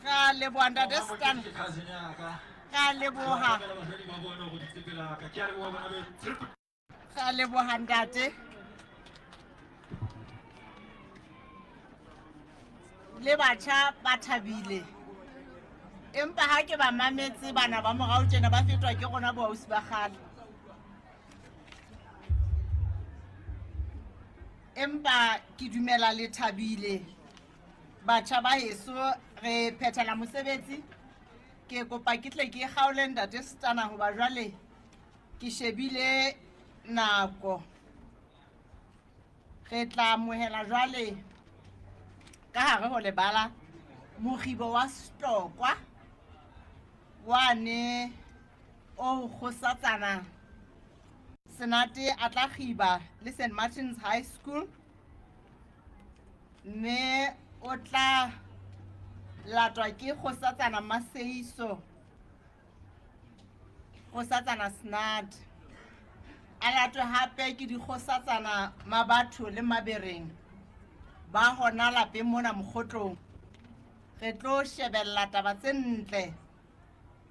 Ra leboha ntate Stan. Ra leboha. Ra leboha ntate. Le batjha ba thabile. Empa ha ke ba mametse bana ba morao tjena ba fetwa ke rona boausi ba kgale. Empa ke dumela le thabile. Batjha ba heso re phethela mosebetsi. Ke kopa ke tle ke kgaole ntate Setana hoba jwale ke shebile nako. Re tla amohela jwale ka hare ho lebala mokgibo wa Setokwa wane o kgosatsana Senate a tla kgiba le St Martin's High School mme o tla latwa ke kgosatsana Maseiso kgosatsana Snat a latwe hape ke dikgosatsana Mabatho le Mabereng ba hona lapeng mona Mokgotlong. Re tlo shebella taba tse ntle.